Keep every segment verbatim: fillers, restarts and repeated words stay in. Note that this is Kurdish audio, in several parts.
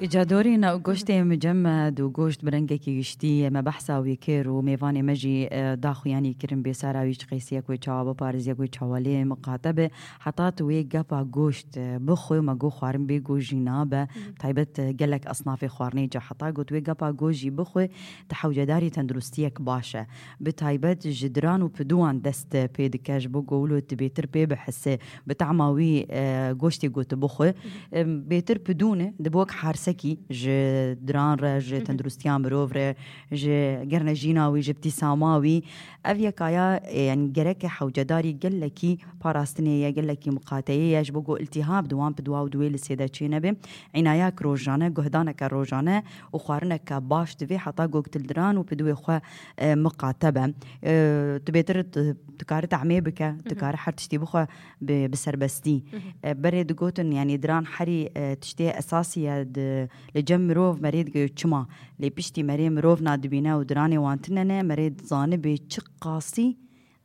Îca dorî na goştê me cem me du goşt bi rengekî giştî me behsa wî kir û mêvanê me jî, e, daxuyanî kirin bê sara wî çi qeysiyek wê çawa biparêz, yek wê çawa lê miqate be. Heta tu wê gepa goşt, e, bixwe, me got xwarin bê goşt jî nabe. Taybet, e, gelek esnafê xwarinê ca heta got wê gepa goşt jî bixwe, tu hewcedarî tenduristiyek baş e. Bi taybet ji diran û piduwan dest pê dike, ji bo ku wilo tu bêtir pê bihise, bi tahma wî, e, goştê ku tu bixwe. Em, bêtir pidûn e, dibe wek harsekî ji diran re, ji tendirustiya mirov re, ji gernejîna wî, ji btîsama wî. Ev yekaya, e, yani gereke hewcedarî gelekî parastinê ye, gelekî miqateyê ye, ji bo ku iltihab di wan piduwa û di wê lisê de çê nebe. Înayak rojane, guhdaneke rojane û xwarineke baş divê heta ku tu li diran û piduwê xwe, e, miqate be. E, tu bêtir tu, tu kare tehmê bike, tu kare her tiştî bixwe bi, bi serbestî. E, berê digotin, yani diran herî, e, tiştê esasî ye di, li cem mirov merê dike çima. Lê piştî merê mirov nadibîne û diranê wan tune ne, merê dizanibe çi qasî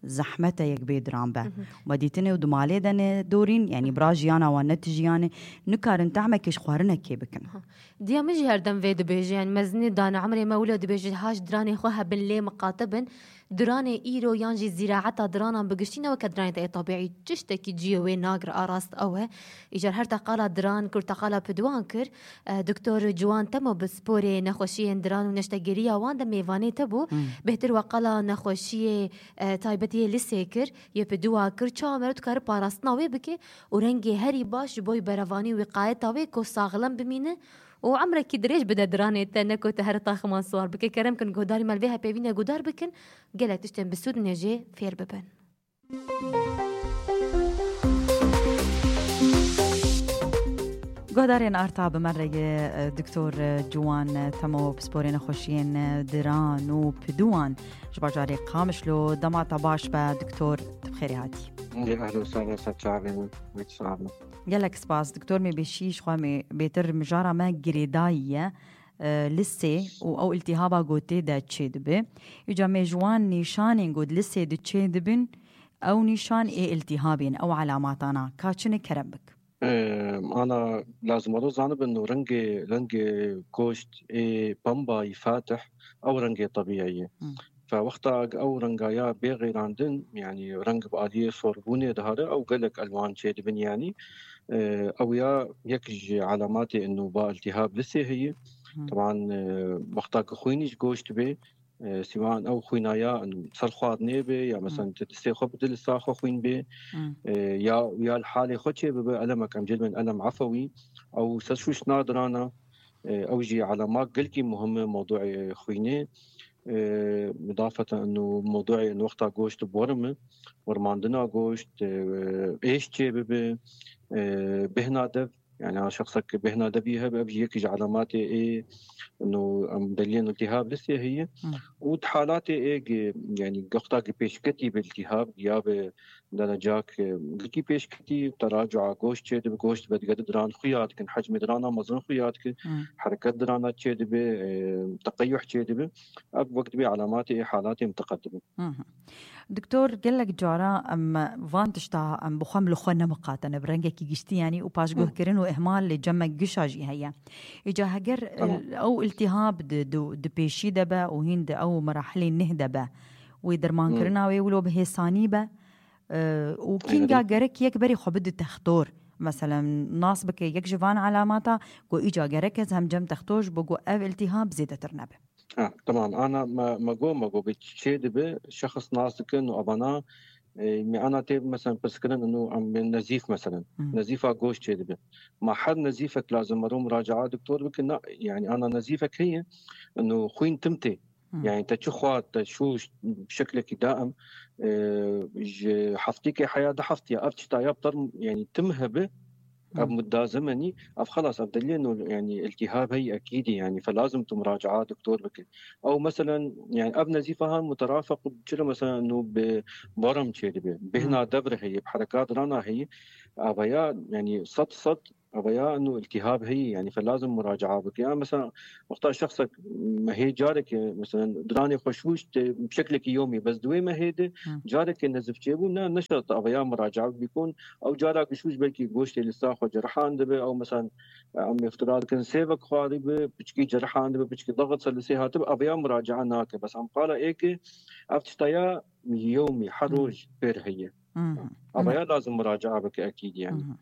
zehmet e yek bê diran be. Me dîtinê û di malê de ne dorîn, yani bira jiyana wan ne ti jiyanê, nikarin tehmekê ji xwarinekê bikin. Diya min jî her dem vê dibêje, yani mezinê dane emrê me wilo dibêje, ha ji diranê xwe hebin lê miqate bin. Diranê îro yan jî zîraeta diranan bi giştî ne weke diranê te yê tebîî, tiştekî cihê wê nagir a rast ew e. Îcar her te qala diran kir, te qala piduwan kir. E, Doktor Ciwan Temo bi sporê nexweşiyên diran û neştegeriya wan de mêvanê te bû. Bêhtir we qala nexweşiyê, e, taybetî yê lisê kir, yê piduwa kir, çawa meriv dikare parastina wê bike û rengê herî baş ji bo berevanî û wîqayeta wê ku saxlem bimîne û emrekî dirêj bide diranê te, ne ku te here taximan siwar bike. Kerem kin guhdarî me li vê hepêvînê guhdar bikin, gelek tiştên bi sûd nê jê fêr bibin. Guhdarên arta bi me re ye, e, Doktor, e, Ciwan, e, Temo, pisporê nexweşiyên, e, diran û piduwan ji bajarê Qamişlo. Dema te baş be, Doktor, tu bi xêrê hatî. Ehlen we sehlen, ser çavên we, wê çav me. Gelek spas, Doktor, me bêşî ji xwe me bêtir mijara me girêdayî ye, e, lisê û ew iltihaba gotê de çê dibe. Îca me ji wan nîşanên ku di lisê de çê dibin, ew nîşan ê iltihabên, ew alamatana, ka çi ne kerem bik. Em, ana lazim ero zanibin û rengê, rengê goşt ê pembayî fatih, ew rengê tebîî ye. Fe wexta ew renga ya bê xêrandin, yanî reng bi aliyê sorbûnê dihare, ew gelek elwan çêdibin, yanî, e, ew ya yek ji alamatê inu ba iltihab lisê heye. Teban, e, wexta ku xwînî ji goşt bê, e, sîwan ew xwîna ya, inu ser xwarinê bê, ya mesela tu distê xwe bide li sa xwe xwîn bê, e, ya, ya li halê xwe çê bibe, elemek em cêdibin elem efewî, ew ser şûş nadirana, e, ew jî alamat gelkî muhim e mewduê xwînê. E, mudafeten inu mewduê inu wexta goşt borim e, wermandina goşt, e, êş çê bibe, e, bêhna dev, yani a şexsek bêhna devî hebe, ev jî yekî ji alamatê ê inu em deliyên iltihab lisê heye. Û di halatê ê, yani wexta ki pêşketî bi iltihab ya bi Derecak, e, gilkî pêşketî, teracua goşt çêdibe, goşt vedigere diran xuya dikin, hecmê dirana mezin xuya dikin, hereket dirana çêdibe, e, teqeyuh çêdibe. Ev wek dibê alamatê ê halatê miteqedim in. Doktor, gelek cara em van tişta em bi xwe em li xwe nemiqatene bi rengekî giştî, yanî û paşguhkirin û ihmal lê cem me gişa jî heye. Îca heger, e, ew iltihab di, di, di pêşî de be û hîn di ew merahilê neh de be, wê dermankirina wê wilo bi hêsanî be, e, û kînga gerek yek berê xwe bide textor. Meselen, nas bike yek ji van alamata ku îca gerek ez hem cem textor ji bo ku ev iltihab zêdetir nebe. Ha, tamam. Ana me, me got, me got bi çê dibe, şexs nas dikin û evana, e, me ana tê, mesela, pirskirin inu em nezîf, mesela. Nezîfa goş çê dibe. Ma her nezîfek lazim mero muracaa doktor bikin, na, yani ana nezîfek heye, inu xwîn tim tê. Yani te çi xwar, te şûş, bi şeklekî daim, e, ji heftîkê heya du heftiya, ev çita ya bi term, yani tim hebe, ev mudda zemenî, ev xelas, ev deliyê no, yani iltihab heyî ekîdî, yani fe lazim tu muracaa doktor bike. Ew meselen, yani ev nezîfa han muterafeq çira meselen no bi baram çêdibe, bêhna devre heye, bi herekat rana heye, ev ya, yani sed sed Ev ya inu iltihab heye, yani fe lazim muraca'a bike. Ya mesela wexta şexsek mehê careke, mesela diranê xweşwîş te bi şeklekî yomî, bes di wê mehê de Hı. careke nezif çêbû, ne, ne şert ev ya muraca'a bikun. Ew cara xweşwîş belkî goştê li sa xwe cerihan dibe, ew mesela em îftira dikin sêvek xwarî bi, piçkî cerihan dibe, piçkî daxit ser li sê hatibe, ev ya muraca'a nake. Bes em qala ê ke ev tişta ya yomî, her Hı. roj pêr heye. Mhm. Ama ya lazim muraca'a bike ekîd yani. Mhm.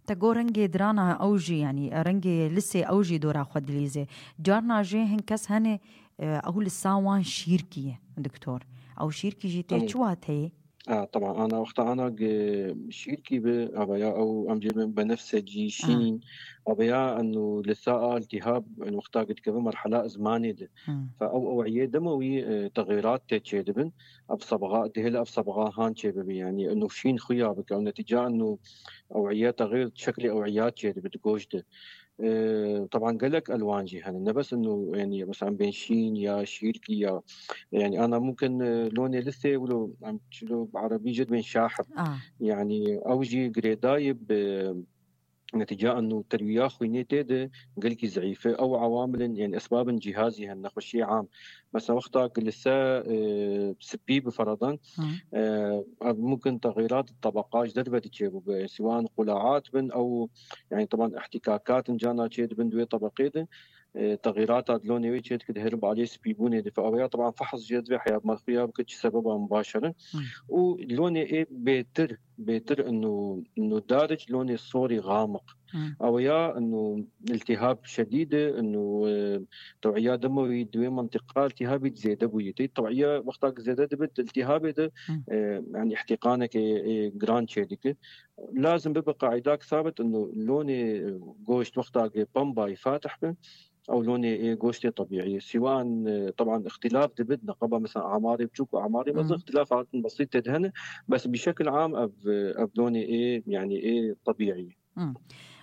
Te got rengê dirana ew jî, yanî rengê lisê ew jî dora xwe dilîze. Carna jî hin kes hene, e, ew lisa wan şîrkî ye, doktor. Ew şîrkî jî tê Tamam. çi wateyê? Ha, tamam. Ana wexta ana ge şîrkî bi, ava ya ew em jê bin benefsecî, Ha. şîn, ava ya enu lisa a iltihab, en wexta ge dikeve merhala izmanê de. Hmm. Fe ew ewiyê demewî, e, texêrat tê çêdibin. Ev sebxa, dihêle ev sebxa han çêbibi, yani enu şîn xuya bike. Ew netîca enu ewiye texêr şeklê ewiya çêdibi di goş de. E, taban gelek elwan jî hene. Ne bes enu, yani mesela bên şîn ya şîrkî ya, yani ana mumkin, e, lonê lisê wilo em çilo bi erebî jê dibên şahib. Ah. Yani ew jî girêdayî bi netîca enu terwiya xwînê tê de gelkî zeîf e. Ew awamilin, yani esbabin cihazî hen nexweşiyê am. Mesela wexta ku li ser, e, spî bi feradan, Hı. e, ev mumkin texîrat tebeqa ji derve diçê bû be. Siwan qulaat bin ew, yani taban ihtîkakatin cana çê dibin di wê tebeqê de. E, texîrata di lonê wê çê dike dihere bi aliyê spîbûnê de. Fe ew ya taban fehs jê divê heya merxuya bike çi sebeba mubaşer in. Hı. Û lonê ê bêtir, bêtir inu, inu daric lonê sorî xamiq. Hı. Ew ya inu iltihab şedîd e, inu, e, tew'iya demewî di wê mentiqa iltihabî zêde bûyî. Tê tew'iya wexta ku zêde dibe di iltihabê de, Hı. e, yani ihtiqaneke, e, giran çê dike. Lazim bibe qaidak sabit inu lonê, e, goşt wexta ku pembayî fatih be, ew lonê ê goştê tebîî. Siwan, e, taban îxtilaf dibit, neqeba mesela amarê biçûk û amarê mezin Hı. îxtilaf hatin besît tê de hene, bes bi şekil am ev, e, ev lonê ê, yani ê tebîî. Hmm.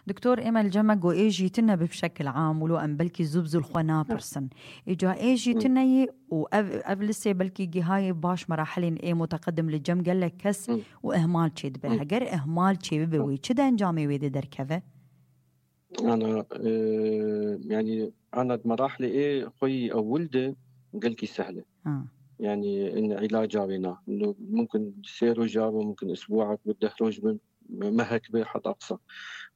Doktor, ême li cem me got ê jî tune bi şekil am, wilo em belkî zû bi zû li xwe napirsin. Îca ê jî Hmm. tune ye û ev, ev lisê belkî gihayê baş merahelên ê muteqedim li cem gelek kes Hmm. û ihmal çêdibe. Hmm. Heger ihmal çêbibe Hmm. wê, çi de encamê wê de derkeve? Ana, e, yani ana di merahlê ê xwe yî ewil de gelkî sehl e. Ha. Yani in îlaca wê na. Nu mumkin sê roja be, mumkin isbuak be, deh roj be, mehek be, heta qisa.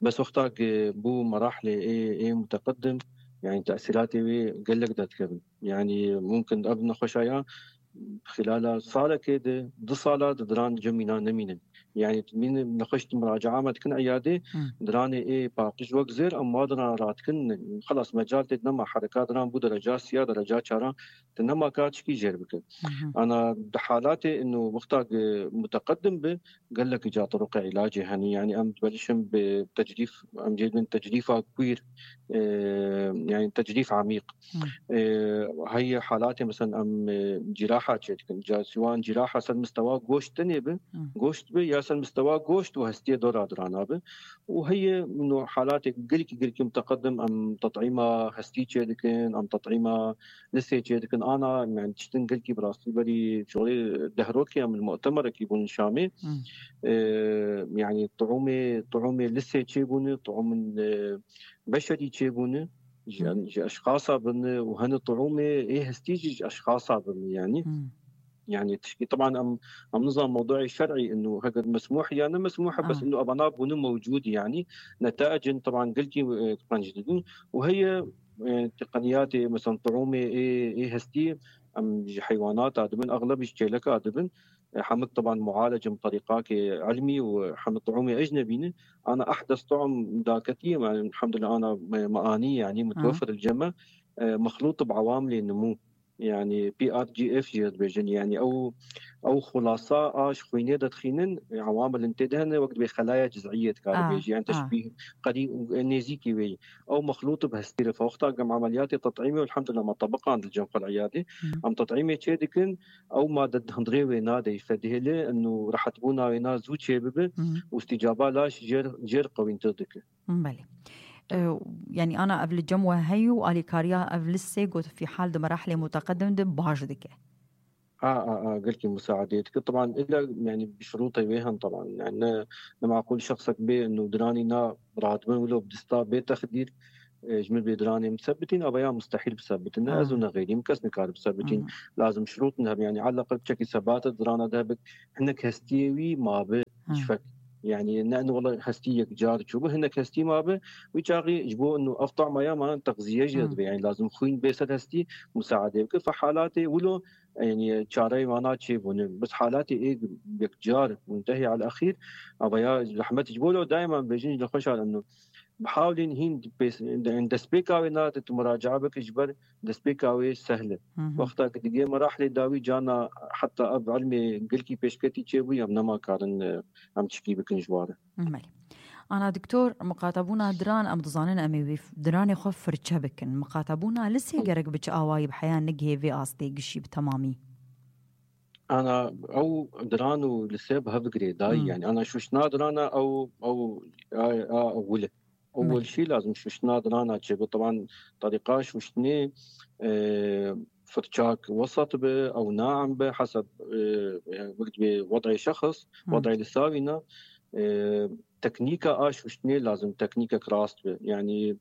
Bes wexta ku bû merahlê ê, ê muteqedim, yani tesîratê wê gelek derdikevin. Yani mumkin ev nexweşa ya xilala salekê de, du sala de diran cem mîna nemînin. Yani mîn nexweş di muracaa me dikin eyadê, Hmm. diranê ê paqij wek zêr em wa diran radikin, xelas mecal tê nema, hereka diran bû dereca siya, dereca çaran, te nema ka çikî jêr bike. Mhm. Ana di halatê inu wexta ku muteqedim bi, gelek ca turuqê îlacê hene. Yani em dibelişin bi tecrîf, em jê dibin tecrîfa kwîr, e, yani tecrîf amîq. Hmm. E, heye halatê mesela em, e, ciraha çêdikin. Ca siwan ciraha ser mistewa goşt tenê bi, Hmm. goşt bi ya ser mistewa goşt û hestiyê dora dirana bi. Û heye no halatê gelkî gelkî muteqedim em tet'îma hestî çêdikin, em tet'îma lisê çêdikin. Ana, yani tiştin gelkî bi rastî berî şolê deh rokê em li mu'temerekî bûn Şamê. Hmm. E, yani tu'umê, tu'umê lisê çêbûne, tu'umên, e, beşerî çêbûne. Ji, Hı. ji eşxasa bine û hene tu'umê ê hestî jî ji eşxasa bine yani. Hı. Yani tişkî, taban em, em nizan mewdu'ê şer'î inu heger mesmûh ya ne mesmûh e, bes Aha. inu evana bûne mewcûd yani. Neta'icin taban gelkî, e, qenc didin. Û heye, e, teqeniyatê, mesela tu'umê ê, ê hestî em ji heywanata dibin, exleb ji çêleka dibin. E, hemik taban mu'alecin bi terîqakê ilmî û hemik tu'umê ecnebî ne. Ana ehdes tu'um daketî, yani, elhamdulillah, ana me, me anî, yani, Aha. mutewefir li cem me, e, mexlût bi awamilê nimû. Yani P R G F jê dibêjin. Yani ew, ew xulasa a ji xwînê de dixînin, e, awamilin tê de hene, wek dibê xelaya ciz'iyê dikare Ah, bêjî. Yani ah. teşbîh, qerî, e, nêzîkî wê. Ew mexlût bi hestî re. Wexta gem emeliyatê tet'îmê, elhamdulillah, me tebiqand li cem xwe li iyadê. Hmm. Em tet'îmê çê dikin, ew made di hundirê wê nade. Fe dihêle inu rehetbûna wê na zû çê bibe Hmm. û îstîcaba laş jêr, jêr qewîntir dike. Belê. E, yani ana ev li cem we heyû, alîkariya ev listê got fî hal di merahlê muteqedim de baş dike. A, a, a, gelkî musaedê dike. Taban, illa, yani, bi şurûtê wê hen, taban. Yani, ne, ne maqûl şexsek bê, û diranî na radibin wilo bi dista bê texdîr, e, ji min bê diranê min sebitîn, ava ya mustehîl bisebitin. Ne ez û ne xeyrî min kes nikare bisebitin. Lazim şurût hebe, yani, eleqel çekî sebata dirana de hebik, hinek hestiyê wî mabe, şfek. Yani, ne, ne, wela hestî yek car çûbû, hinek hestî mabe. Wî çaxî ji bo û ev tama ya ma texziye jî dibe. Yani, lazim xwîn bê ser hestî musaedê bike. Fe halatê wilo yani, çareyê wana çêbûne. Bes halatê ê yek car muntehî al exîr, ava ya zehmet ji bo lo daima bêjin ji nexweşa eno. Bihawlên hîn pês-, destpêka wê nate tu muracae bike ji ber destpêka wê sehl e. Wexta ku digê merahlê dawî cana heta ev ilmê gelkî pêşketî çêbû, em nema karin, e, em çikî bikin ji ware. Belê. Ana doktor, miqatebûna diran, em dizanin em ê wî f-, diranê xwe firçe bikin. Miqatebûna lisê gerek bi çi awayî bi heya nigihê vê astê gişî bi temamî? Ana ew diran û lise bi hev girêdayî, yani ana şuştina dirana ew, ew, a, a, ewil e. Ewil şî lazim şuştina dirana çêbe. Taban, tariqa şuştinê, e, firçak wesat be, ew naem be, heseb, e, yani, wek dibê wed'ê şexs, wed'ê lisa wîna, e, teknîka a şuştinê lazim teknîkek rast be. Yani,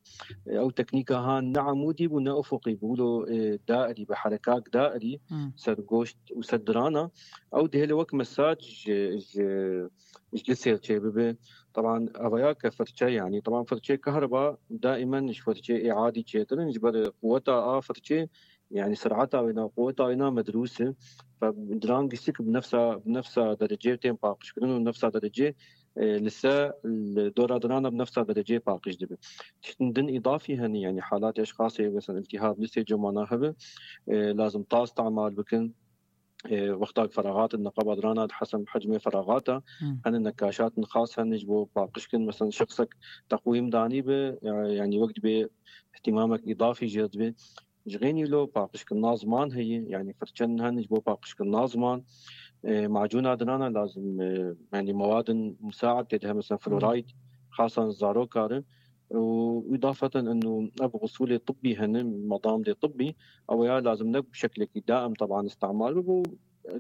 e, ew teknîka ha ne emûdî bû, ne ufuqî bû, wilo, e, dairî be, herekak dairî ser goşt û ser dirana. Ew dihêle wek mesaj ji, ji, ji lisê çêbibe. Taban, evaya ke firçe, yani, taban, firçê kahreba daimen ji firçê ê adî çêtir in, ji ber quweta a firçê, yani, ser'eta wê na, quweta wê na medrûs e. Fe diran giştik bi nefsa, bi nefsa derecê tên paqijkirin û nefsa derecê, e, lise li dora dirana bi nefsa derecê paqij dibe. Tiştin din îdafî hene, yani, halatê eşxasê, mesela, iltihab lisê cemana hebe, e, lazim ta istemal bikin. E, wexta feraxat in neqaba dirana, di hesem hecmê feraxata, hene nekaşat in xas hene ji bo paqijkin, mesela, şexsek teqwîm danî be, e, yani, wek dibê ihtimamek îdafî jê dibe. Ji xênî lo paqijkirina ziman heye, yani firçen hene ji bo paqijkirina ziman. E, macûna dinana lazim, e, yani mewadin musaid tê de, mesela fluoride, xasan zarokar e. Û îdafeten eno ev xusûlê tibbî hene, madamdê tibbî, ew ya lazim ne bi şeklekî daim taban istemal bibe.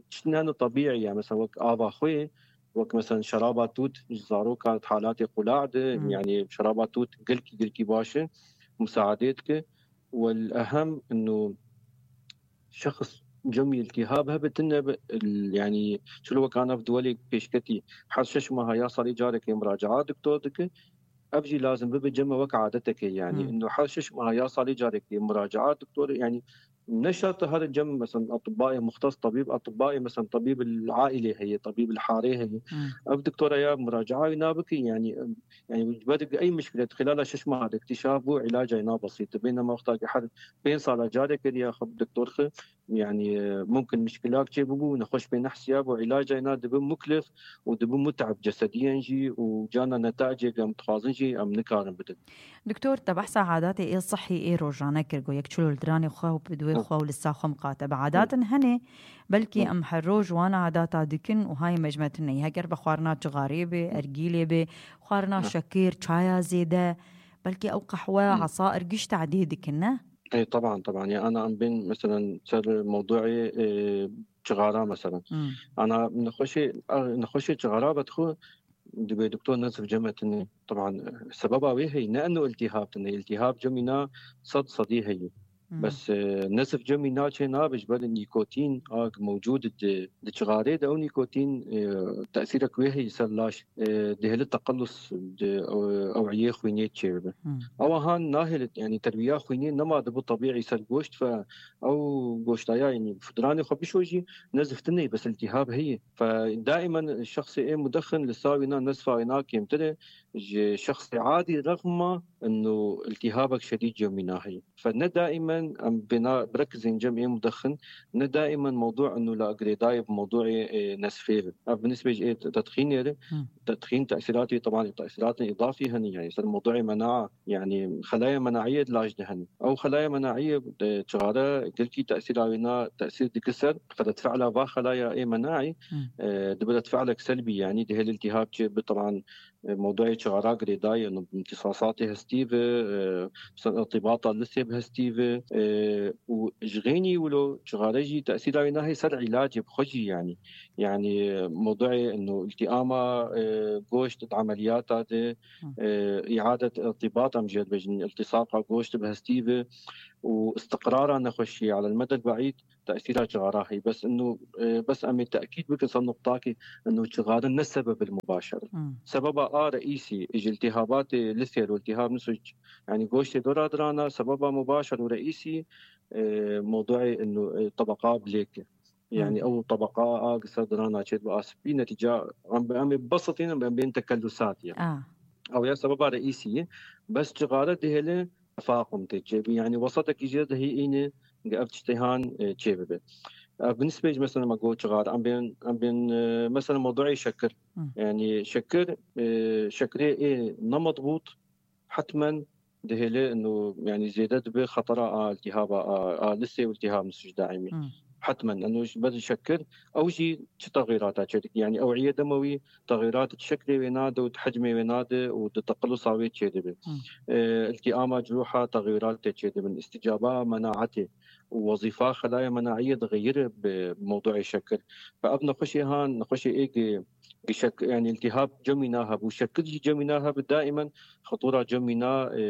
Tiştin hene tebîî ye, mesela wek ava xwê, wek mesela şeraba tût ji zaroka halatê qulax de, yani şeraba tût gelkî, gelkî baş e, musaedê dike. Wel ehem eno şexs cemî iltihab hebe tine be, il-, yani çilo wek ana bi duwelê pêşketî her şeş meha ya salî carekê muracaa doktor dike. Ev jî lazim bibe cem e wek adeteke, yani eno her şeş meha ya salî carekê muracaa doktor, yani ne şert her cem, mesela, atibbayê muxtes, tabîb, atibbayê, mesela, tabîb el-aîlê heye, tabîb el-harê heye. Ev doktora ya muracaa wî nabike, yani, yani, ji ber ey mişkile xilala şeş meha de iktîşaf bû, îlaca wî na besît. Bênema wexta ki her pênc sala careke diya xwe bi doktor xwe, yani, e, mumkin mişkilak çê bibû, nexweş pê nehsiya bû, îlaca wî na dibe muklif û dibe mute'b cesediyen jî û cana netacê em dixwazin jî em nikarin bidin. Doktor, te behsa adatê ê sihî ê rojane kir, got yek çilo li diranê xwe û bi duwê xwe û li sa xwe miqate bi. Adat in hene, belkî em her roj wan adata dikin û hayê me ji me tune ye. Heger bi xwarina cixarê be, ergîlê be, xwarina şekir, çaya zêde, belkî ew qehwe, esair giş tedê dikin, ne? Ê, teban, teban. Ya ana em bên, meselen, ser mewduê, e, cixara, meselen. Ana nexweşê, a, nexweşê cixara vedixwe, dibê doktor nezif cem e tune. Teban, e, sebeba wê heye, ne eno iltihab tune. Iltihab cemî na sed sedî heye. Bes, e, nezif cemî na çê nabe ji ber nîkotîn a mewcûd di, di cixarê de ew nîkotîn, e, tesîrek wê heye ser laş. E, dihêle teqelus di, e, ewiyê xwînê çêbibe. Ewa han nahêle, yani terbiya xwînê nema dibe tebîî ser goşt fe ew goştaya, yani fidranê xwe bişo jî nezif tune, bes iltihab heye. Fe daimen şexsê ê mudexin li sa wîna nezfa wîna kêmtir e, ji şexsê adî rexma eno iltihabek şedîd cemîna heye. Fe ne daimen em bêna birekizên cem ê mudexin, ne daimen mewdû eno la girêdayê bi mewdûê, e, nesfê be. Ev bi nisbê ji ê tedxînê re, tedxîn tesîratê, teban tesîratên îdafî hene, yani ser mewdûê menaa, yani xelaya menaiyê di laş de hene. Ew xelaya menaiyê, e, çixare gelkî tesîra wê na tesîr dike ser, fe redfe'la va xelaya ê menaî, e, dibe redfe'lek selbî, yani dihêle iltihab çêbe, teban E, mewduê çixara girêdayî, ino imtîsasatê hestî ve, e, ser irtîbata lisê bi hestî ve, e, û ji xênî wilo çixare jî tesîra wê nahê ser îlacê bi xwe jî, yanî. Yanî, e, mewduê ino îltîama, e, goşt di emeliyata de, Hı. e, îadet irtîbat em jê dibêjin, îltîsaqa goşt bi hestî ve û istiqrara nexweşiyê alel medel beîd tesîra çixara heye. Bes ino, e, bes em ê tekîd bikin ser nuqtakê ino çixare ne sebeb il mubaşer. Hmm. Sebeba a reîsî ji iltihabatê lisê û iltihab niso, yanî goştê dora dirana, sebeba mubaşer û reîsî, e, mewduê ino, e, tebeqa bilêk e. Yanî Hmm. ew tebeqa a ser dirana çêdibe a spî, netîca em, em ê besitînin, em bên tekellusat ya. Ah. Ew ya sebeba reîsî ye. Bes çixare dihêle tefaqum tê çêbî. Yanî wesetekî jê de hî îne ge ev tiştê han, e, çêbibe. Ev bi nisbê ji mesela me got çixar. Em bên, em bên, e, mesela mewduê şekir. Hı. Yanî şekir, e, şekirê ê ne mezbût hetmen dihêle ino, yanî zêde dibe xetera a iltihaba, a, a lisê û iltihab niso ji daîmî. Hı. Hetmen, ino ji ber şekir, ew jî çi texîrata çêdike? Yanî ewiyê demewî texîrat di şeklê wê nade û di hecmê wê nade û di teqelusa wê çêdibe. Hmm. E, iltîama ciruha texîrat tê çêdibin. Îstîcaba menaetê û wezîfa xelaya menaiyê dixeyire bi mewduê şekir. Fe ev nexweşê han, nexweşê ê gi, gi şek, yanî iltihab cemî naheb û şekir jî cemî naheb, daîmen xetûra cemî na, e,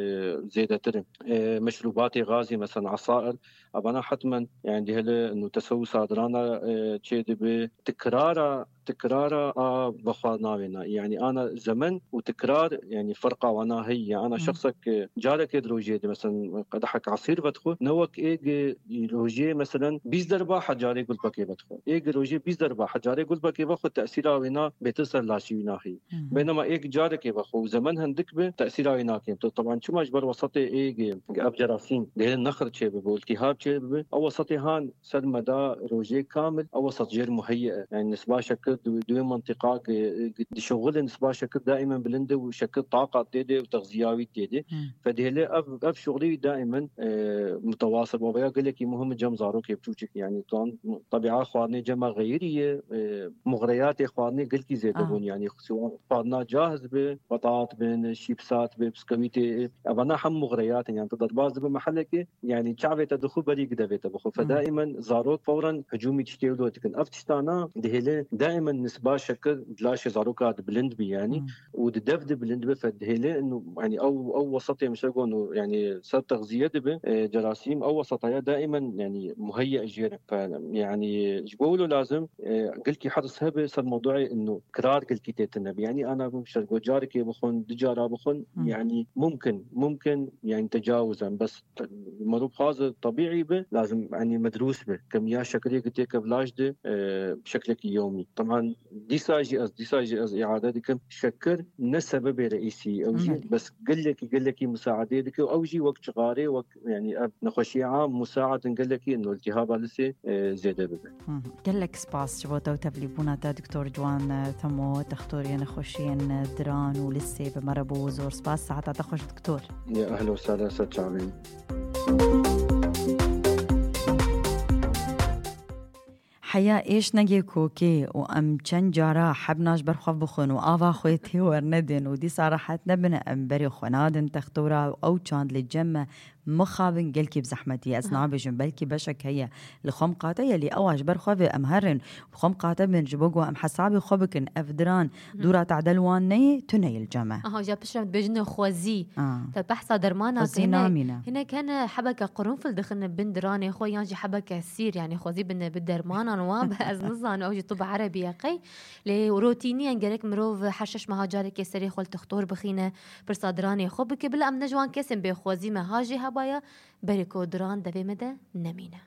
zêdetir in. E, meşrûbatê gazî, mesela esair, evana hetmen, yanî dihêle ino tesewusa dirana, e, çêdibe, tikrara tikrara a vexwar navêna. Yanî ana zemen û tikrar, yanî ferqa wana heye. Ana Hmm. şexsek, e, carekê di rojê de, mesela qedehek esîr vedixwe, ne wek ê gi rojê, mesela bîst derba hecarê gulbekê vedixwe. Ê gi rojê bîst derba hecarê gulbekê vexwe, tesîra wêna bêtir ser laşî wîna heye. Hı hı. Bênema ê gi carekê vexwe û zemen hindik be, tesîra wê nakêm. Tu, teban çima ji ber wesetê ê gi ev cerasîm dihêle nexir çêbibe û iltihab çêbibe, ew wesetê han ser meda rojê kamil, ew wesat jêr muheyye e. Yanî nisba şekir di, di wê mentiqa ki, ki dişuxulin, nisba şekir daîmen bilind e û şekir taqat tê de û texziya wî tê de. Hmm. Fe dihêle ev, ev şuxulê wî daîmen, e, mutewasir bû. Veya gelekî muhim e cem zarokê biçûçik. Yanî tan tebîa xwarinê cema xeyirî ye, e, muxreyatê xwarinê gelkî zêde Ah. bûn. Yanî xwarin-, xwarina cahiz be, betat bin, şîpsat be, biskewîtê, evana hem muxreyat in. Yanî tu derbas dibe mehelekê, yanî çavê te dixwe berî gidevê te bixwe. Fe Hmm. daîmen zarok fewren hicûmî tiştê wilo dikin. Ev tiştana dihêle daîmen nisba şekir di laşê zaroka di bilind bî yanî Hmm. û di dev de bilind be fe dihêle ino, yanî ew, ew wesetê mişe gon û yanî ser texziye dibe, e, cerasîm ew wesetaya daîmen yanî muheyye jê re. Fe yanî ji bo wilo lazim, e, gelkî hirs hebe ser mewduê ino kirar gelkî tê tune be. Yanî ana bim şer go carekê bixwin, du cara bixwin, Hmm. yanî mumkin, mumkin yanî tecawuz in. Bes Te-, merû bi xwaze tebîî be, lazim, yanî medrûs be. Kemiya şekirê ku têke vlaj de, e, bi şeklekî yewmî. Teban dîsa jî ez, dîsa jî ez îade dikim, şekir ne sebebê reîsî, ew jî Belê. bes gelekî, gelekî musaedê dike û ew jî wek çixarê, wek, yanî ev nexweşiya am musaedin gelekî ino iltihaba lisê, e, zêde bibe. Hı hı. Gelek spas ji bo te û tevlîbûna te, Doktor Ciwan Temo, textorê nexweşiyên diran û lisê bi me re bû. Zor spas, saeta te xweş, Doktor. Ya, ehlen we sehlen, ser çavên. Heya êş negê kokê û em çend cara hebna ji ber xwe bixwin û ava xwe tê wernedin û dîsa rehet nebin, em berê xwe nadin textora û ew çand li cem me mixabin gelkî bi zehmetî. Ez Ha. nabêjim, belkî beşek heye li xwe miqate ye, lê ew a ji ber xwe ve em herin, bi xwe miqate bin, ji bo ku em hesabê xwe bikin, ev diran Hı. dûra tadel wan neyê, tune yê li cem e. Aha, ja piştre dibêjin xwezî. Ah. Te behsa dermana Xwezî hene, namîne. Hinek hene hebeke qurunfil dixine bin diranê xwe, yan jî hebeke sîr, yanî xwezî bin bi dermanan wan, be ez nizanim, ew jî tu bi erebî ye qey. Lê rotînî ye, gerek mirov her şeş meha carekê serê xwe li textor bixîne, pirsa diranê xwe bike. Bila em ne ji wan kesên bê xwezî me ha jê hebaya, berê ku diran devê me de nemîne.